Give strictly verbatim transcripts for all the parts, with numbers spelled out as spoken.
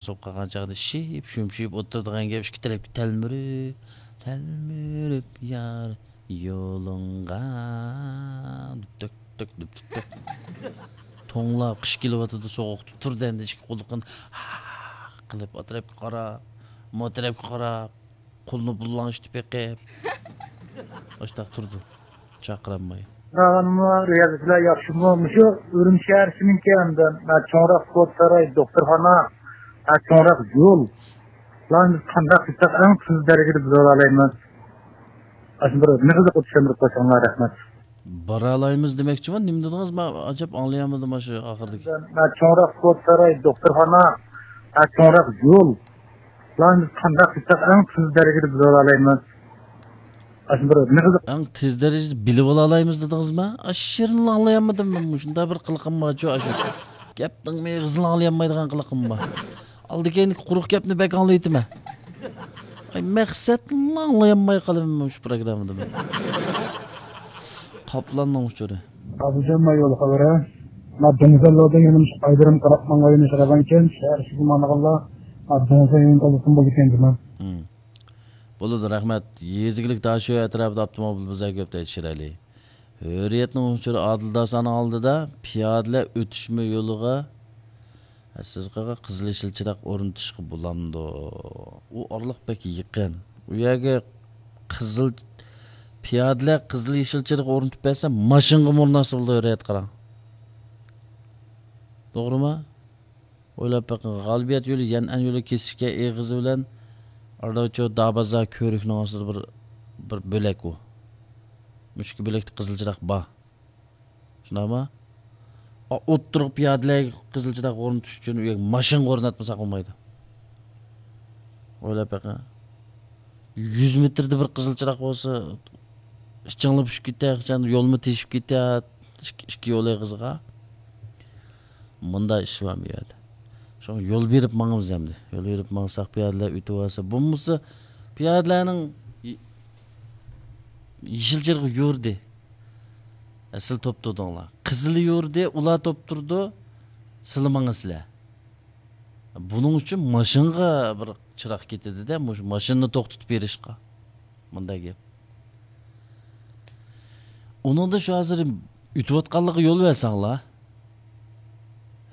سوقۇپ قالغان چاغدا شىپ شۈمشىيىپ ئولتۇرىدىغان گەپ، ئىككى تەرەپكە تەلمۈرۈپ، تەلمۈرۈپ يار يولۇڭغا، دۈپتەك دۈپتەك دۈپتەك. توڭلاپ، قىش كېلىۋاتىدۇ، سوغۇقتا تۇردى، ئەمدى ئىككى قوللۇقىنى قىلىپ، ئا تەرەپكە قاراپ، ما تەرەپكە قاراپ، قولىنى بۇللاڭشىتىپ بېقىپ، ئاشتاق تۇردى، چاقىرالماي. رىيازىچىلار ياخشىمۇ؟ مۇشۇ ئۈرۈمچى شەھەرچىنىڭكى ھەمدە چوڭراق سودا ساراي، دوختۇرخانا، چوڭراق يول، بۇلارنى قانداق قىلساق ئەڭ تېز دەرىجىدە بىلىۋالالايمىز؟ ئاشۇ بىر مېغىزلىق چۈشەندۈرۈپ قويساڭلار، رەھمەت. بارالايمىز دېمەكچىمەن، نېمە دېدىڭىز؟ مەن ئاجاپ ئاڭلىيالمىدىم مانا شۇ ئاخىرىدىكى. چوڭراق سودا ساراي، دوختۇرخانا، چوڭراق يول، بۇلارنى قانداق قىلساق ئەڭ تېز دەرىجىدە بىلىۋالالايمىز؟ ئاشۇ بىر مېغىز. ئەڭ تېز دەرىجىدە بىلىۋالالايمىز دېدىڭىزما؟ ئاشۇ يېرىنىلا ئاڭلىيالمىدىم مەن. مۇشۇنداق بىر قىلىقىم بارچۇ، ئاشۇ گەپنىڭ مېغىزىنى ئاڭلىيالمايدىغان قىلىقىم بار. ئالدى كەينىدىكى قۇرۇق گەپنى بەك ئاڭلىۋېتىمەن. ئاي، مەقسەتنىلا ئاڭلىيالماي قالىمەن مۇشۇ پروگراممىدا مەن. قاپلاننىڭ ئۇچۇرى. ئابىجان، ما يول خەۋىرى. ما دېڭىزلاردا يەنە مۇشۇ ئايدىرىم قاراپ ماڭغان يېنى ئىشلەۋەنكەن، شەھەر ئىچىگە ماڭغانلار، ما دېڭىزدا يېنى تولۇسۇن بولىدىكەن جۇما. مم. بولىدۇ، رەھمەت. يېزا ئىگىلىك تاشيول ئەتراپىدا ئاپتوموبىل بۇزار كۆپ دەيدۇ شىرئەلى. ھۆرىيەتنىڭ ئۇچۇرى، ئادىل داسانىڭ ئالدىدا پىيادىلەر ئۆتۈشمە يولىغا سىز قىلغان قىزىل يېشىل چىراغ ئورنىتىشقا بولامدۇ؟ ئۇ ئارىلىق بەك يېقىن. ئۇ يەرگە قىزىل، پىيادىلەر قىزىل يېشىل چىراغ ئورنىتىپ بەرسە، ماشىنىغا ئورناتسا بولىدۇ، ھۆرىيەت قاراڭ. توغرىمۇ؟ ئويلاپ بېقىڭ، غالىبىيەت يولى، يەنئەن يولى كېسىشكەن ئېغىزى بىلەن ئارىداچۇ دابازار كۆۋرۈكنىڭ ئاستىدا بىر، بىر بۆلەك ئۇ. مۇشۇ ئىككى بۆلەكتە قىزىل چىراغ بار. شۇنداقمۇ؟ ئا، ئوتتۇرىغا پىيادىلەرگە قىزىل چىراغ ئورنىتىش ئۈچۈن ئۇ يەرگە ماشىنىغا ئورناتمىساق بولمايدۇ. ئويلاپ بېقىڭ. يۈز مېتىردا بىر قىزىل چىراغ بولسا، ئىچىڭلار پۈشۈپ كېتەر، يولمۇ تېشىپ كېتەر، ئىككى، ئىككى يول ئېغىزىغا. مۇنداق ئىش بار بۇ يەردە. شۇڭا يول بېرىپ ماڭىمىز ئەمدى. يول بېرىپ ماڭساق، پىيادىلەر ئۆتۈۋالسا، بولمىسا پىيادىلەرنىڭ يې-، يېشىل چىرىغى يورۇدى. ئە، سىلە توپ تۇردۇڭلار. قىزىلى يورۇدى، ئۇلار توپ تۇرىدۇ، سىلە ماڭىسىلەر. بۇنىڭ ئۈچۈن ماشىنىغا بىر چىراغ كېتىدۇ-دە، مۇشۇ ماشىنىنى توختىتىپ بېرىشقا. مۇنداق گەپ. ئۇنىڭدا شۇ ھازىر ئۆتۈۋاتقانلىقىغا يول بەرسەڭلار،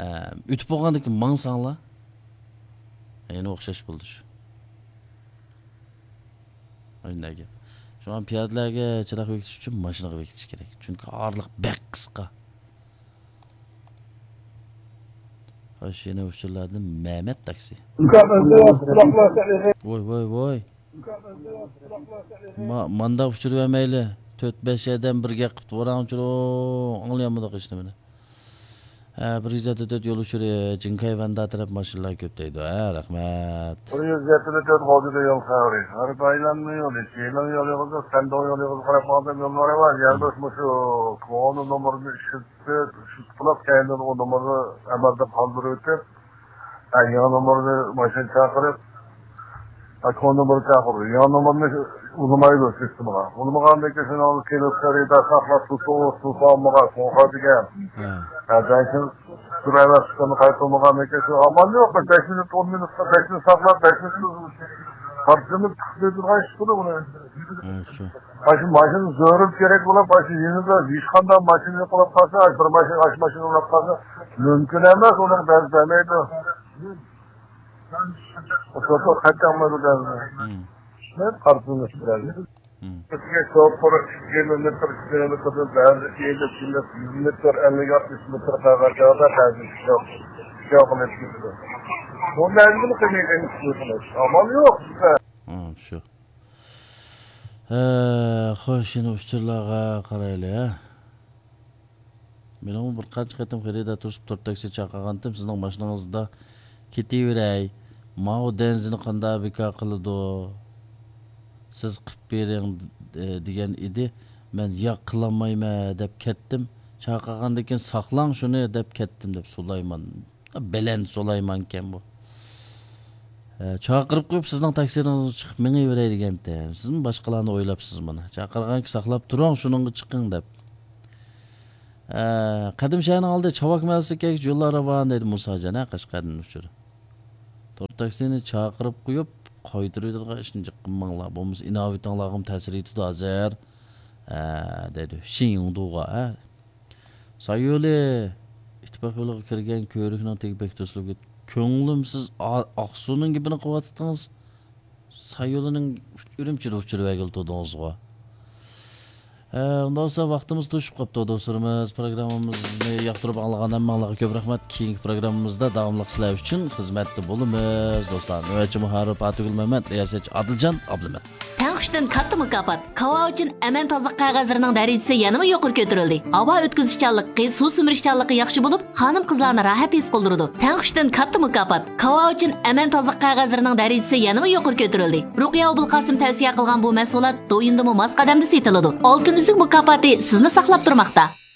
ئە، ئۆتۈپ بولغاندىن كېيىن ماڭساڭلار، يەنە ئوخشاش بولدى شۇ. شۇنداق گەپ. شۇڭا پىيادىلەرگە چىراغ بېكىتىش ئۈچۈن ماشىنىغا بېكىتىش كېرەك. چۈنكى ئارىلىق بەك قىسقا. خوش، يەنە ئۇچۇرلاردىن مەمەت تاكسى. ۋوي، ۋوي، ۋوي. ما-، مانداق ئۇچۇر بەرمەيلى. تۆت، بەش ئادەم بىر گەپ قىپتۇ. ۋاراڭ ئۇچۇر، ئاڭلىيالمىدۇق ھېچنېمىنى. ھە، بىر يۈز يەتتە تۆت يول ئۇچۇرى، جىڭكاي ۋەندە تەرەپ ماشىنىلار كۆپ دەيدۇ. ھە، رەھمەت. بىر يۈز يەتتە تۆت غوجىدا يول خەۋىرى. ھەر بايلامنىڭ يولى، چىلىڭ يولى، سەندۇ يولى قاراپ ماڭسام يوللار بار. يەنە مۇشۇ كونا نومۇرنى ئىشلىتىپ، شۇ پۇلاپ كەينىدىن ئۇ نومۇرنى ئەمەلدىن قالدۇرۇۋېتىپ، ھە، يېڭى نومۇرنى ماشىنا چاقىرىپ، ھە، كونا نومۇرنى چاقىرىدۇ. يېڭى نومۇرنى ئۇلىمايدۇ سىستېمىغا. ئۇلىمىغاندىن كېيىن شۇنىڭ كېلىپ خېرىدار ساقلاپ تۇرسا، ئۇ تۇرسا ئالمىغان، سوڭقا دېگەن. ھە. ھە، بەلكىم سۈرەۋەر چىققىنى قايتۇرمىغاندىن كېيىن شۇ ئامال يوق. بىر بەش مىنۇت، ئون مىنۇتقا، بەش مىنۇت ساقلاپ، بەش مىنۇت قارشىنى تىقىپ تۇرغان ئىش بۇ. ھە، شۇ. ماشىنا، ماشىنا زۆرۈر كېرەك بولۇپ، ماشىنا يېنىدا ھېچقانداق ماشىنا يوق بولۇپ قالسا، بىر ماشىنا، ئاش ماشىنا بولۇپ قالسا، مۇمكىن ئەمەس، ئۇنىڭ بەزى بەرمەيدۇ. شوپۇر قاچانمىدۇ بەزى. مم. شۇنى قارىسىڭىز بىلەن. مم. بىزگە شوپۇر ئىككى كىلومېتىر، ئۈچ كىلومېتىردىن بەزى ئېلىپ كېلىپ، يۈز مېتىر، ئەللىك، ئاتمىش مېتىر قالغان چاغدا بەزى شوپۇر، شوپۇر قىلىپ كېتىدۇ. بۇ مەزگىل قىلمىغان ئىش. ئامال يوق بىزدە. مم، شۇ. ھە، خوش، يەنە ئۇچۇرلارغا قارايلى، ھە. مېنىڭمۇ بىر قانچە قېتىم خېرىدار تۇرۇشۇپ تور تاكسى چاقىرغانتىم، سىزنىڭ ماشىنىڭىزدا كېتىۋېرەي، ماۋۇ دەنزىنى قانداق بىكار قىلىدۇ، سىز قىلىپ بېرىڭ، دېگەن ئىدى. مەن ياق، قىلالمايمەن دەپ كەتتىم. چاقىرغاندىن كېيىن ساقلاڭ شۇنى دەپ كەتتىم، دەپ سۇلايمان. بەلەن سۇلايمانكەن بۇ. ئە، چاقىرىپ قويۇپ، سىزنىڭ تاكسىڭىزغا چىقىپ مېڭىۋېرەي دېگەنتى. سىزمۇ باشقىلارنى ئويلاپسىز مانا. چاقىرغانكى ساقلاپ تۇرۇڭ، شۇنىڭغا چىقىڭ دەپ. ئە، قەدىم شەھەرنىڭ ئالدى چاۋاك مەھەللىسىگە كەلگۈچە يوللار راۋان دەيدۇ مۇساجان، ھە، قەشقەردىن ئۇچۇر. تور تاكسىنى چاقىرىپ قويۇپ، قايتۇرۇۋېتىدىغان ئىشنى جىق قىلماڭلار. بولمىسا ئىناۋىتىڭلارغىمۇ تەسىر يېتىدۇ ھازىر. ھە، دەيدۇ. شىنيىڭدۇغا، ھە. سايولى ئىتتىپاق يولىغا كىرگەن كۆۋرۈكنىڭ تېگى بەك توسۇلۇپ كەتتى. كۆڭلۈمسىز ئا-، ئاقسۇنىڭ گېپىنى قىلىۋاتىتىڭىز. سايولىنىڭ ئۈرۈمچىدە ئۇچۇرۇۋەرگىلى تۇردىڭىزغۇ. ھە، ئۇنداق بولسا ۋاقتىمىز توشۇپ قاپتۇ، دوستلىرىمىز. پروگراممىمىزنى ياقتۇرۇپ ئاڭلىغان ھەممىڭلارغا كۆپ رەھمەت. كېيىنكى پروگراممىمىزدا داۋاملىق سىلەر ئۈچۈن خىزمەتتە بولىمىز، دوستلار. نۆۋەتچى مۇھەررىر پاتىگۈل مەمەت، رىياسەتچى ئادىلجان ئابلىمەت. تەڭ ئۈچتىن كاتتا مۇكاپات. كاۋا ئۈچۈن ئەمەن تازىلىق قەغەزلىرىنىڭ دەرىجىسى يەنىمۇ يۇقىرى كۆتۈرۈلدى. ھاۋا ئۆتكۈزۈشچانلىقى، سۇ سۈمۈرۈشچانلىقى ياخشى بولۇپ، خانىم-قىزلارنى راھەت ھېس قىلدۇرىدۇ. تەڭ ئۈچتىن كاتتا مۇكاپات. كاۋا ئۈچۈن ئەمەن تازىلىق قەغەزلىرىنىڭ دەرىجىسى يەنىمۇ يۇقىرى كۆتۈرۈلدى. رۇقىيە ئوبۇلقاسىم تەۋسىيە قىلغان بۇ مەھسۇلات دويىندىمۇ ماس قەدەمدە سېتىلىدۇ. ئالتۇن ئۈزۈك مۇكاپاتى سىزنى ساقلاپ تۇرماقتا.